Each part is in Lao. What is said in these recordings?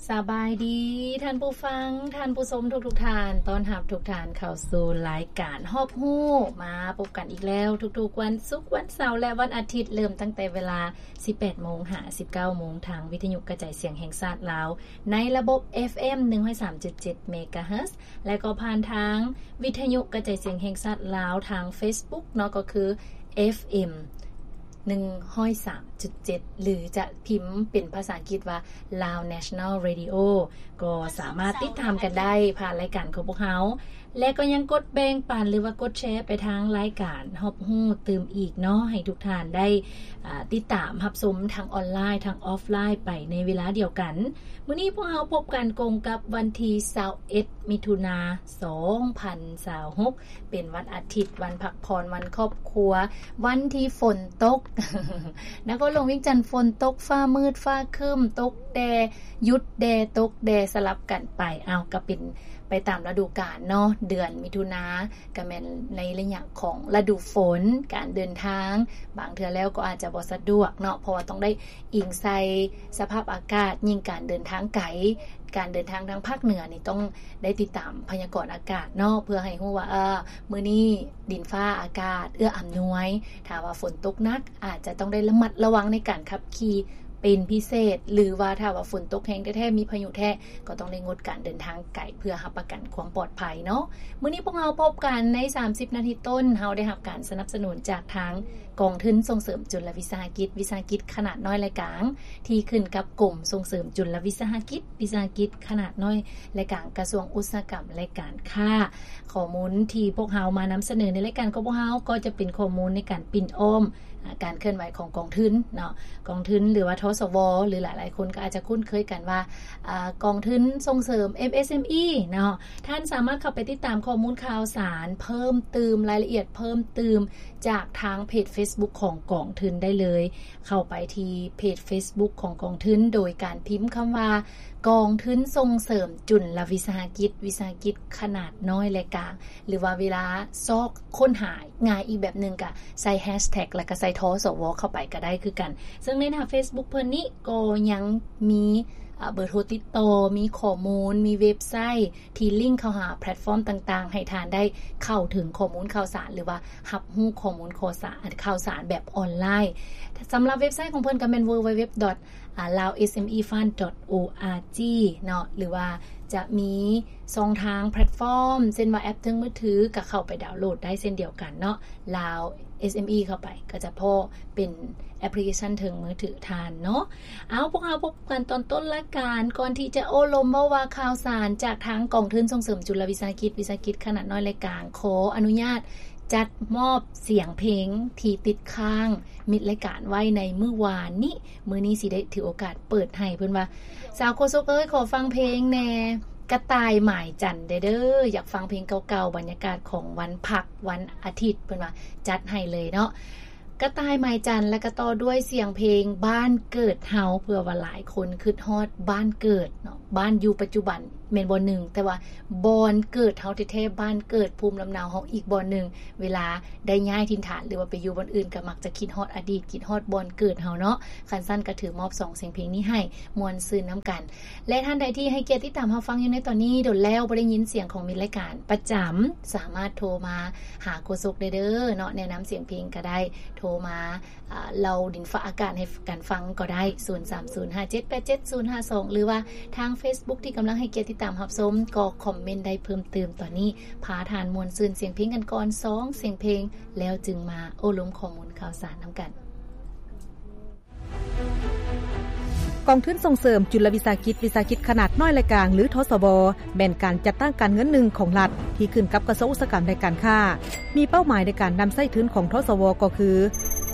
ສະບາຍດີທ່ານຜູ້ຟັງ, ທ່ານຜູ້ຊົມທຸກໆທ່ານ. ຕ້ອນຮັບທຸກທ່ານເຂົ້າສູ່ລາຍການຮອບຮູ້, ມາພົບກັນອີກແລ້ວທຸກໆວັນສຸກ, ວັນເສົາ ແລະ ວັນອາທິດ, ເລີ່ມຕັ້ງແຕ່ເວລາສິບແປດໂມງຫາສິບເກົ້າໂມງ ທາງວິທະຍຸກະຈາຍສຽງແຫ່ງຊາດລາວ ໃນລະບົບ ເອັຟເອັມ ໜຶ່ງຮ້ອຍສາມຈຸດເຈັດ ເມກາເຮີດ ແລະ ກໍຜ່ານທາງວິທະຍຸກະຈາຍສຽງແຫ່ງຊາດລາວ ທາງເຟສບຸກເນາະ, ກໍຄື ເອັຟເອັມ ໜຶ່ງຮ້ອຍສາມຈຸດເຈັດ ຫຼື ຈະພິມເປັນພາສາອັງກິດວ່າ Lao National Radio ກໍສາມາດຕິດຕາມກັນໄດ້ຜ່ານລາຍການຂອງພວກເຮົາ ແລະ ກໍຍັງກົດແບ່ງປັນ ຫຼືວ່າກົດແຊໄປທາງລາຍການຮອບຮູ້ຕື່ມອີກເນາະ, ໃຫ້ທຸກທ່ານໄດ້ ອ່າ ຕິດຕາມຮັບຊົມທັງອອນລາຍ ທັງອອຟລາຍໄປໃນເວລາດຽວກັນ. ມື້ນີ້ພວກເຮົາພົບກັນກົງກັບວັນທີຊາວເອັດ ມິຖຸນາ ສອງພັນຊາວຫົກ ເປັນວັນອາທິດ, ວັນພັກຜ່ອນ, ວັນຄອບຄົວ, ວັນທີ່ຝົນຕົກ. ນະຄອນຫຼວງວຽງຈັນຝົນຕົກ, ຟ້າມືດ, ຟ້າຄຶ້ມ, ຕົກແດ່, ຢຸດແດ່, ຕົກແດ່, ສະຫຼັບກັນໄປ. ເອົາ, ກໍເປັນໄປຕາມລະດູການເນາະ. ເດືອນມິຖຸນາ ກໍແມ່ນໃນໄລຍະຂອງລະດູຝົນ, ການເດີນທາງບາງເທື່ອແລ້ວກໍອາດຈະບໍ່ສະດວກເນາະ, ເພາະວ່າຕ້ອງໄດ້ອີງໃສ່ສະພາບອາກາດ, ຍິ່ງການເດີນທາງໄກ, ການເດີນທາງທາງພາກເໜືອນີ້ຕ້ອງໄດ້ຕິດຕາມພະຍາກອນອາກາດເນາະ, ເພື່ອໃຫ້ຮູ້ວ່າ ເອີ ມື້ນີ້ດິນຟ້າອາກາດເອື້ອອຳນວຍ. ຖ້າວ່າຝົນຕົກໜັກ ອາດຈະຕ້ອງໄດ້ລະມັດລະວັງໃນການຂັບຂີ່ເປັນພິເສດ, ຫຼືວ່າຖ້າວ່າຝົນຕົກແຮງແທ້ໆ ມີພາຍຸແທ້ ກໍຕ້ອງໄດ້ງົດການເດີນທາງໄກ ເພື່ອຮັບປະກັນຄວາມປອດໄພເນາະ. ມື້ນີ້ພວກເຮົາພົບກັນໃນສາມສິບນາທີຕົ້ນ, ເຮົາໄດ້ຮັບການສະໜັບສະໜູນຈາກທາງກອງທຶນສົ່ງເສີມຈຸນລະວິສາຫະກິດ, ວິສາຫະກິດຂະໜາດນ້ອຍ ແລະ ກາງ ທີ່ຂຶ້ນກັບກົມສົ່ງເສີມຈຸນລະວິສາຫະກິດ, ວິສາຫະກິດຂະໜາດນ້ອຍ ແລະ ກາງ ກະຊວງອຸດສາຫະກຳ ແລະ ການຄ້າ. ຂໍ້ມູນທີ່ພວກເຮົາມານຳສະເໜີໃນລາຍການຂອງພວກເຮົາ ກໍຈະເປັນຂໍ້ມູນໃນການປິ່ນອ້ອມ ອາ ການເຄື່ອນໄຫວຂອງກອງທຶນເນາະ, ກອງທຶນ ຫຼືວ່າ ທສວ ຫຼືຫຼາຍໆຄົນກໍອາດຈະຄຸ້ນເຄີຍກັນວ່າ ອາ ກອງທຶນສົ່ງເສີມ ເອັມເອສເອັມອີ ເນາະ. ທ່ານສາມາດເຂົ້າໄປຕິດຕາມຂໍ້ມູນຂ່າວສານເພີ່ມຕື່ມ, ລາຍລະອຽດເພີ່ມຕື່ມ ຈາກທາງເພຈເຟສບຸກຂອງກອງທຶນໄດ້ເລີຍ. ເຂົ້າໄປທີ່ເພຈເຟສບຸກຂອງກອງທຶນ ໂດຍການພິມຄຳວ່າ ກອງທຶນສົ່ງເສີມຈຸນລະວິສາຫະກິດ, ວິສາຫະກິດຂະໜາດນ້ອຍ ແລະ ກາງ ຫຼືວ່າເວລາຊອກຄົ້ນຫາງ່າຍອີກແບບໜຶ່ງ ກະໃສ່ແຮັສແທັກ ແລ້ວກະໃສ່ ທສວ ເຂົ້າໄປກະໄດ້ຄືກັນ. ເຊິ່ງໃນໜ້າເຟສບຸກເພິ່ນນີ້ກໍຍັງມີ ອາ ເບີໂທຕິດຕໍ່, ມີຂໍ້ມູນ, ມີເວັບໄຊທີ່ລິ້ງເຂົ້າຫາແພລດຟອມຕ່າງໆ ໃຫ້ທ່ານໄດ້ເຂົ້າເຖິງຂໍ້ມູນຂ່າວສານ ຫຼືວ່າຮັບຮູ້ຂໍ້ມູນຂໍ້ສານ, ຂ່າວສານແບບອອນລາຍ. ສຳລັບເວັບໄຊຂອງເພິ່ນກໍແມ່ນ www.laosmefund.org ເນາະ, ຫຼືວ່າຈະມີຊ່ອງທາງແພລດຟອມ ເຊັ່ນວ່າແອັບເທິງມືຖື ກໍເຂົ້າໄປດາວໂຫຼດໄດ້ເຊັ່ນດຽວກັນເນາະ. Lao SME ເຂົ້າໄປ ກໍຈະພໍ້ເປັນແອັບພລິເຄຊັນເທິງມືຖືທ່ານເນາະ. ເອົາ, ພວກເຮົາພົບກັນຕອນຕົ້ນລາຍການ. ກ່ອນທີ່ຈະໂອ້ລົມເວົ້າວ່າຂ່າວສານຈາກທາງກອງທຶນສົ່ງເສີມຈຸນລະວິສາຫະກິດ, ວິສາຫະກິດຂະໜາດນ້ອຍ ແລະ ກາງ, ຂໍອະນຸຍາດຈັດມອບສຽງເພງທີ່ຕິດຄ້າງມິດລາຍການໄວ້ໃນມື້ວານນີ້. ມື້ນີ້ຊິໄດ້ຖືໂອກາດເປີດໃຫ້. ເພິ່ນວ່າ, ສາວໂຄສົກເອີຍ, ຂໍຟັງເພງແດ່, ກະຕ່າຍໝາຍຈັນແດ່ເດີ, ຢາກຟັງເພງເກົ່າໆ, ບັນຍາກາດຂອງວັນພັກ, ວັນອາທິດ, ເພິ່ນວ່າ ຈັດໃຫ້ເລີຍເນາະ. ກະຕ່າຍໝາຍຈັນ ແລະ ກະຕໍ່ດ້ວຍສຽງເພງບ້ານເກີດເຮົາ, ເພື່ອວ່າຫຼາຍຄົນຄິດຮອດບ້ານເກີດເນາະ, ບ້ານຢູ່ປັດຈຸບັນແມ່ນບ່ອນໜຶ່ງ, ແຕ່ວ່າບ່ອນເກີດເຮົາແທ້ໆ, ບ້ານເກີດພູມລຳເນົາເຮົາອີກບ່ອນໜຶ່ງ, ເວລາໄດ້ຍ້າຍຖິ່ນຖານ ຫຼືວ່າໄປຢູ່ບ່ອນອື່ນ ກໍມັກຈະຄິດຮອດອະດີດ, ຄິດຮອດບ່ອນເກີດເຮົາເນາະ. ຄັນຊັ້ນກໍຖືມອບສອງສຽງເພງນີ້ໃຫ້, ມ່ວນຊື່ນນຳກັນ. ແລະ ທ່ານໃດທີ່ໃຫ້ກຽດຕິດຕາມຮັບຟັງຢູ່ໃນຕອນນີ້, ດົນແລ້ວບໍ່ໄດ້ຍິນສຽງຂອງມິດລາຍການປະຈຳ, ສາມາດໂທມາຫາໂຄສົກໄດ້ເດີເນາະ, ແນະນຳສຽງເພງກໍໄດ້, ໂທມາ ອາ ເລົ່າດິນຟ້າອາກາດໃຫ້ກັນຟັງກໍໄດ້, ສູນສາມສູນຫ້າເຈັດແປດເຈັດສູນຫ້າສອງ ຫຼືວ່າທາງເຟສບຸກທີ່ກຳລັງໃຫ້ກຽດຕິດຕາມຮັບຊົມ, ກໍຄອມເມັນໄດ້ເພີ່ມຕື່ມ. ຕອນນີ້ພາທ່ານມ່ວນຊື່ນສຽງເພງກັນກ່ອນສອງສຽງເພງ, ແລ້ວຈຶ່ງມາໂອ້ລົມຂໍ້ມູນຂ່າວສານນຳກັນ. ກອງທຶນສົ່ງເສີມຈຸນລະວິສາຫະກິດ, ວິສາຫະກິດຂະໜາດນ້ອຍ ແລະ ກາງ ຫຼື ທສວ ແມ່ນການຈັດຕັ້ງການເງິນໜຶ່ງຂອງລັດ ທີ່ຂຶ້ນກັບກະຊວງອຸດສາຫະກຳ ແລະ ການຄ້າ. ມີເປົ້າໝາຍໃນການນຳໃຊ້ທຶນຂອງ ທສວ ກໍຄື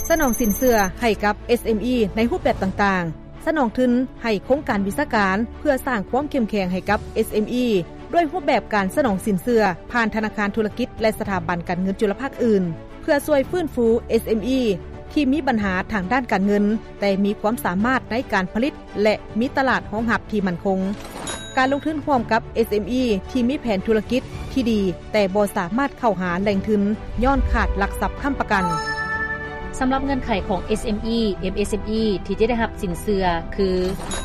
ສະໜອງສິນເຊື່ອໃຫ້ກັບ ເອສເອັມອີ ໃນຮູບແບບຕ່າງໆ, ສະໜອງທຶນໃຫ້ໂຄງການວິຊາການເພື່ອສ້າງຄວາມເຂັ້ມແຂງໃຫ້ກັບ ເອສເອັມອີ ດ້ວຍຮູບແບບການສະໜອງສິນເຊື່ອຜ່ານທະນາຄານທຸລະກິດ ແລະ ສະຖາບັນການເງິນຈຸລະພາກອື່ນ ເພື່ອຊ່ວຍຟື້ນຟູ ເອສເອັມອີ ທີ່ມີບັນຫາທາງດ້ານການເງິນ, ແຕ່ມີຄວາມສາມາດໃນການຜະລິດ ແລະ ມີຕະຫຼາດຮອງຮັບທີ່ໝັ້ນຄົງ. ການລົງທຶນຮ່ວມກັບ ເອສເອັມອີ ທີ່ມີແຜນທຸລະກິດທີ່ດີ ແຕ່ບໍ່ສາມາດເຂົ້າຫາແຫຼ່ງທຶນຍ້ອນຂາດຫຼັກຊັບຄ້ຳປະກັນ. ສຳລັບເງື່ອນໄຂຂອງ ເອສເອັມອີ ເອັມເອສເອັມອີ ທີ່ຈະໄດ້ຮັບສິນເຊື່ອຄື: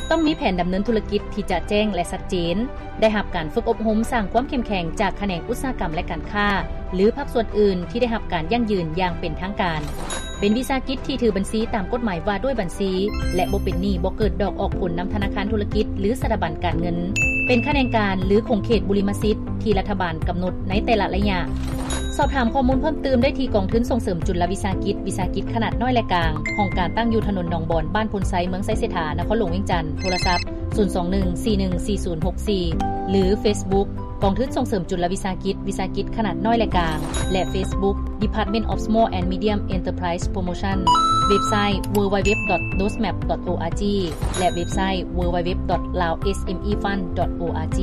ຕ້ອງມີແຜນດຳເນີນທຸລະກິດທີ່ຈະແຈ້ງ ແລະ ຊັດເຈນ, ໄດ້ຮັບການຝຶກອົບຮົມສ້າງຄວາມເຂັ້ມແຂງຈາກຂະແໜງອຸດສາຫະກຳ ແລະ ການຄ້າ ຫຼື ພາກສ່ວນອື່ນທີ່ໄດ້ຮັບການຢັ້ງຢືນຢ່າງເປັນທາງການ, ເປັນວິສາຫະກິດທີ່ຖືບັນຊີຕາມກົດໝາຍວ່າດ້ວຍບັນຊີ ແລະ ບໍ່ເປັນໜີ້, ບໍ່ເກີດດອກອອກຜົນນຳທະນາຄານທຸລະກິດ ຫຼື ສະຖາບັນການເງິນ, ເປັນຂະແໜງການ ຫຼື ຂົງເຂດບຸລິມະສິດທີ່ລັດຖະບານກຳນົດໃນແຕ່ລະໄລຍະ. ສອບຖາມຂໍ້ມູນເພີ່ມຕື່ມໄດ້ທີ່ກອງທຶນສົ່ງເສີມຈຸລະວິສາຫະກິດ ວິສາຫະກິດຂະໜາດນ້ອຍ ແລະ ກາງ, ຫ້ອງການຕັ້ງຢູ່ຖະໜົນໜອງບອນ, ບ້ານໂພນໄຊ, ເມືອງໄຊເສດຖາ, ນະຄອນຫຼວງວຽງຈັນ, ໂທລະສັບ ສູນສອງໜຶ່ງ ສີ່ໜຶ່ງສີ່ສູນຫົກສີ່ ຫຼື ເຟສບຸກ ກອງທຶນສົ່ງເສີມຈຸລະວິສາຫະກິດ ວິສາຫະກິດຂະໜາດນ້ອຍ ແລະ ກາງ ແລະ ເຟສບຸກ Department of Small and Medium Enterprise Promotion, ເວັບໄຊ www.dostmap.org ແລະ ເວັບໄຊ www.laosmefund.org.